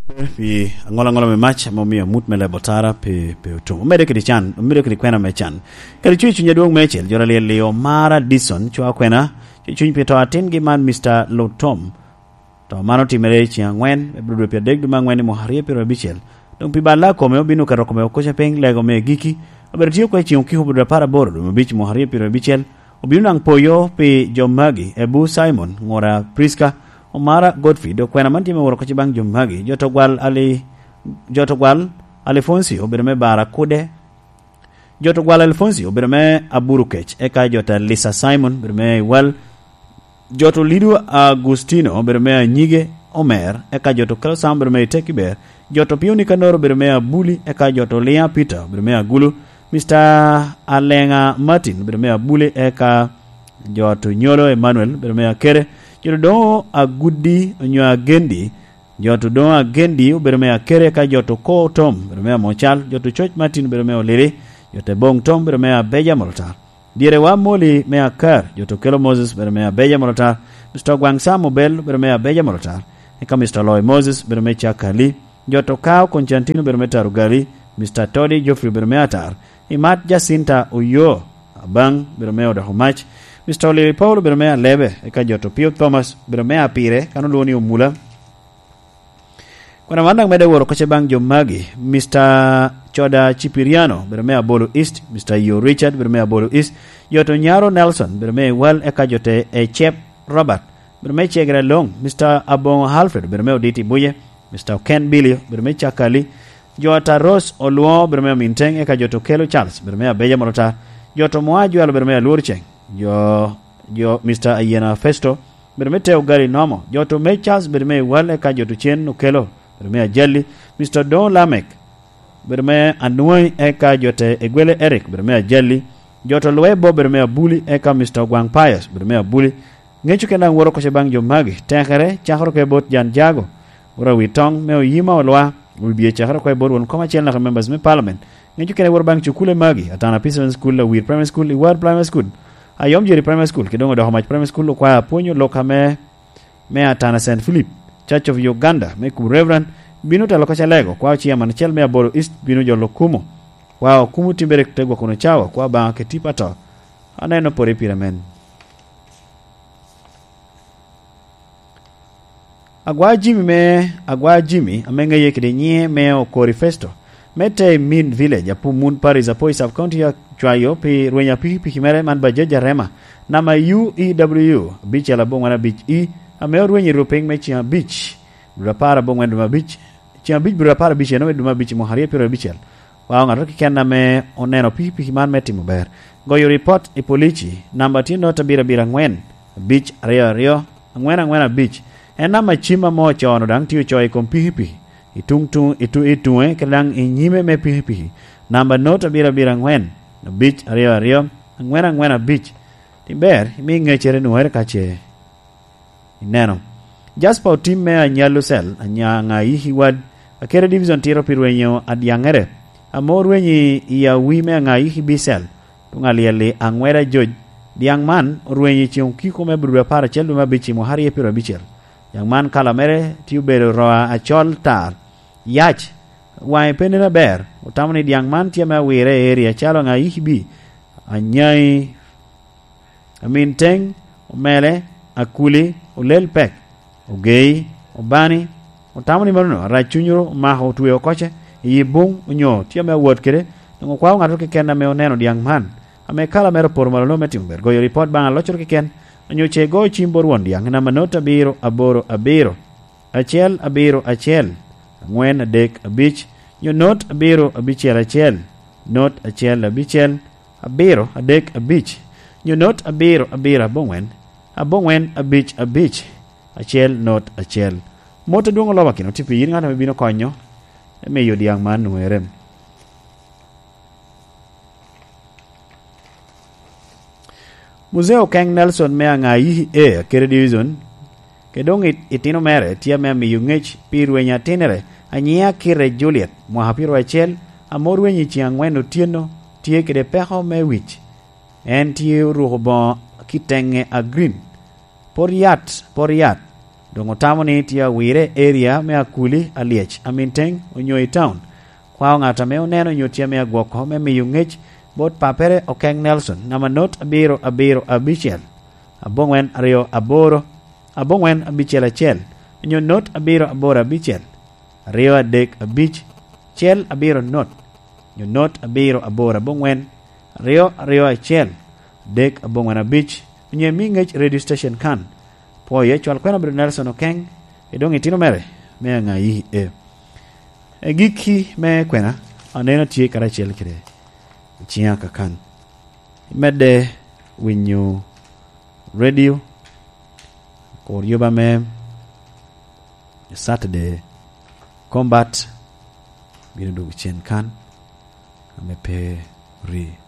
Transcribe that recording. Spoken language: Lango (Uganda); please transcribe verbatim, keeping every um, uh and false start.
Pi aŋola aŋola me mac ame omio amut me lebo tara pe, pe otum. Omedde kede can, omedde kede kwena me can. Kadi cuny i cuny adwoŋ meicel, joro alyel-li omara Dison, cwa kwena, cuny cuny pi to atingi man, Mister Lutom. To man otimere i ceng angwen, me bro dwe pyeradek dwe me angwen i mwaka aryo pyeraryo abicel. Doŋ pi balla kome obino keto kome okoca piny lego me giki. Obedo tye oko i ceng okiko bro dwe apar aboro dwe me abic i mwaka aryo pyeraryo abicel. Obino naŋ poyo pi jo magi, Ebu Simon, ŋura Priska, Omara Godfrey, dok kwena man tye me woro kocci baŋ jo magi. Jo to gwal Ali, jo to gwal Alifonsi obedo me Bara Kude. Jo to gwal Alifonsi obedo me Aburu Kec, eka jo to Lisa Simon obedo me Iwal. Jo to Lido Agustino obedo me Anyige Omer, eka jo to Kelo Sam obedo me Iteki Ber. Jo to Pio Nikanor obedo me Abuli, eka jo to Lia Peter obedo me Agulu. Mister Alenga Martin obedo me Abuli, eka jo to Nyolo Emmanuel obedo me Akere. Jo to Doŋo Agudi onyo Agendi, jo to Doŋo Agendi obedo me Akere, eka jo to Ko Tom obedo me Amocal, jo to Coc Martin obedo me Olili, jo to Boŋ Tom obedo me Abeja Molotar. Dyere wa Moli me Akar, jo to Kelo Moses obedo me Abeja Molotar, Mister Gwaŋ Sam Obel obedo me Abeja Molotar, eka Mister Loy Moses obedo me Cakali, jo to Kao Koncantin obedo me Tarugali, Mister Todi Geoffrey obedo me Atar, Imat Jacinta Oyo Abaŋ obedo me Odoko Mac, Mister Olili Paul obedo me Alebe, eka jo to Pio Thomas obedo me Apire, kan olwoŋo ni Omula. Kwena man daŋ medde woro kocce baŋ jo magi, Mister Coda Cipiriano, bedo me Abolo East, Mister Yo Richard, bedo me Abolo East, jo to Nyaro Nelson, bedo me Iwal, eka jo te Ecep Robert, bedo me Cegere Loŋ, Mister Aboŋo Alfred, bedo me Oditi Buje, Mister Ken Bilio, bedo me Cakali, jo ata Rose Olwoŋo, bedo me Aminteng, eka jo to Kelo Charles, bedo me Abeja Molotar, jo to Moa Ajwalo, bedo me Alwor Ceng, jo, jo Mister Ayena Festo, bedo me Teo Gari Nomo, jo to me Charles, bedo me Iwal, eka jo to Cen Okelo, bedo me Ajali, Mister Odoŋo Lamek, bedo me Anwai, eka jo te Egwele Eric, bedo me Ajali, jo to Lwe Bob, bedo me Abuli, eka Mister Ogwaŋ Pius, bedo me Abuli. Ŋeco kena daŋ woro kocce baŋ jo magi, tekere, cakere oko i bot Jan Jago, woro awi toŋ me Oyima Olwa, obibye cakere oko i bot won kom acel naka members me parliament. Ŋeco kena woro baŋ cukule magi, Atana P seven School, Awir Primary School, Iwar Primary School, Ayom Jeri Primary School, kede doŋ Odoko Mac Primary School, okwaya apwonyo lok ame me Atana Saint Philip, Church of Uganda, me kubo Reverend, bino telo ka Calego, kwa chairman acel me Abolo East bino jolo kumo. Kwa okumo timbere te gwok wunu cawa, kwa Obaŋa keti pato. Aneno pore pire men. Agwa Jimmy me, Agwa Jimmy, ame ŋeye kede nyiŋe me Okori Festo, me te i Min Village, Apum Mun Parish, Apoi Sub County, acwayo pi rweny a pikipiki mere man Bajaj Arema, namba U E W abicel aboŋwen abic E, ame orwenyo i rupiny me ceng abic, dwe apar aboŋwen dwe me abic, ceng abic dwe apar abic, eno me dwe me abic i mwaka aryo pyeraryo abicel. Wa ŋato keken ame oneno pikipiki man me timo ber, goyo ripot i polici, namba tye not abiro abiro aŋwen, abic aryo aryo, aŋwen aŋwen abic. En namba cim ame ocoo-nu daŋ tye ocoo i kom pikipiki, i tuŋ tuŋ, i tu-, i tuŋe, kede daŋ i nyime me pikipiki. Namba not abiro abiro aŋwen, abic aryo aryo, aŋwen aŋwen abic. Ber imi ŋeccere nwoŋere ka ce ineno. Jasper Otim me Anyallo Cell, anya-, Aŋayiki Wad, Akere Division tito pi rwenyo adyaŋere, ame orwenyo i awi me Aŋayiki B Cell, tuŋ alyel-li Aŋweda Joj. Dyaŋ man orwenyo i ceŋ okiko me Aburudu apar acel dwe me abic i mwaka aryo pyeraryo abicel. Dyaŋ man kala mere tye obedo roa acol tar, yac, waŋe pe nen aber. Otamo ni dyaŋ man tye ame awire i area acalo Aŋayiki B, Anyayi, Amin Teŋ, Omele, Akuli, Olel Pek, Ogei, Obani. Otamo ni manono arac cunywu omako otweo oko ce i yi buŋ onyo tye ame awot kede, doŋ okwao ŋattoro keken ame oneno dyaŋ man, ame kala mere opoto malo me timo ber, goyo ripot baŋ aloccoro keken, onyo ce igo cim bot won dyaŋ i namba not abiro aboro abiro, acel abiro acel, aŋwen adek abic, nyo not abiro abicel acel, not acel abicel, abiro adek abic, nyo not abiro abiro aboŋwen, aboŋwen abic abic, acel not acel. Mot adwoŋ olobakino tye pi yin ŋat ame bino konyo me miyo dyaŋ man nwoŋere. Muzee Okeng Nelson me Aŋayiki A, Akere Division, kede doŋ it-, itino mere tye ame amiyo ŋec pi rweny atinere, anyiŋe Akite Juliet, mwaka pyeraryo acel, ame orwenyo i ceŋ aŋwen otyeno, tye kede peko me wic. En tye oruko boŋo kiteŋe a green. Pot yat, pot yat. Doŋ otamo ni tye awire area me Akuli, Alyec, Aminteng, onyo i town. Kwao ŋat ame oneno onyo tye ame agwoko me miyo ŋec bot papere Okeng Nelson, namba not abiro abiro abicel, aboŋwen aryo aboro, aboŋwen abicel acel, onyo not abiro aboro abicel, aryo adek abic, cel abiro not, onyo not abiro aboro aboŋwen, aryo aryo acel, adek aboŋwen abic, onyo imi ŋec radio station kan. Pwoye, cwal kwena obedo Nelson Okeng, i doŋ itino mere me aŋayi e. E gikki me kwena, aneno tye karacel kede ciŋa kakan. Imedde winyo radio, kur yuba me Saturday Combat bino dwogo cen kan, ame pe ri.